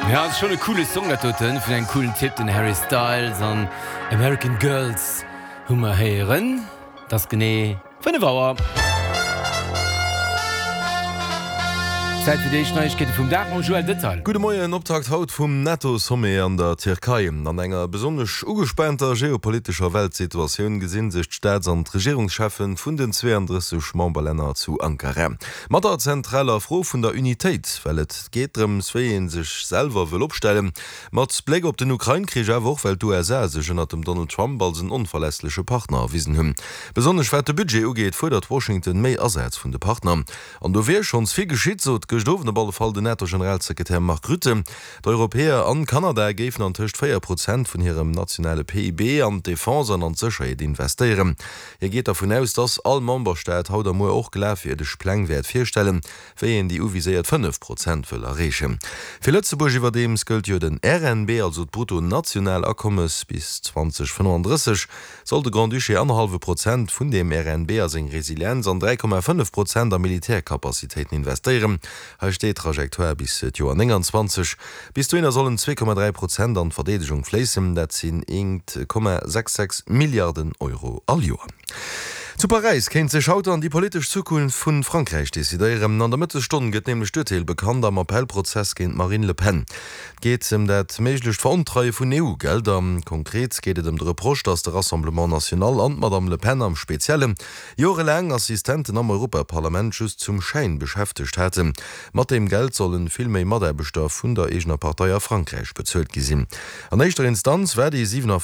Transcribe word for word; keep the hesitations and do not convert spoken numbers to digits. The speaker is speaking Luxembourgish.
Ja, ass schonn e coole Song dat doten, vun engem coolen Typ, den Harry Styles an American Girls hu mer héieren. Et ass genee fënnef Auer. Zäit fir déi éischt Neiegkeete vum Dag mam Joël Detail. Gudde Moien, Optakt haut vum NATO-Sommet an der Tierkei. An enger besonnesch ugespaanter geopolitescher Weltsituatioun gesinn sech d'Staats an d'Regierungscheffen vun den zweeëndrësseg Memberlänner zu Ankara. Mat der zentraler Fro vun der Unitéit, well et geet drëms, wéi ee sech selwer wëll opstellen, mat Bléck op den Ukrain-Krich, awer och well d'USA sech ënnert dem Donald Trump als en onverlässleche Partner erwisen hunn. Besonnesch wat de Budget ugeet, fuerdert Washington méi Asaz vun de Partner. An do wier schonns vill geschitt, sot gëscht Owend op alle Fall den NATO-Generalsekretär Mark Rutte. D'Europäer an Kanada géifen an tëscht véier Prozent vun hirem nationale P I B an d'Defense an an d'Sécherheet investéieren. Hie geet dervun aus, datt all Memberstaat haut a muer och glafwierdeg Pläng wäert virstellen, wéi een déi uviséiert fënnef Prozent wëll erreechen. Fir Lëtzebuerg iwwerdeems gëllt jo den R N B, also d'Bruttonationalakommes. Bis zweedausendfënnefandrësseg soll de Grand-Duché annerhallwe Prozent vun deem R N B a seng Resilienz an dräi Komma fënnef Prozent a Militärcapacitéiten investéieren. Hei steet d'Trajectoire bis d'Joer nénganzwanzeg. Bis dohinner sollen zwee Komma dräi Prozent an d'Verdeedegung fléissen, dat sinn eent Komma sechs sechs Milliarden Euro all Joer. Zu Paräis kéint sech haut dann déi politesch Zukunft vu Frankräich decidéieren. An der Mëttesstonn gëtt nämlech d'Urteel bekannt am Appellprozess géint d'Marine Le Pen. Et geet ëm dat méiglecht Verontreie vun E U-Gelder. Konkret geet et ëm de Reproche, datt de Rassemblement National an d'Madame Le Pen am Spezielle jorelaang Assistenten am Europaparlament just zum Schäin beschäftegt haten. Mat deem Geld sollen vill méi Mataarbechter vun der eegener Partei a Frankräich bezuelt gi sinn. An éischter Instanz war déi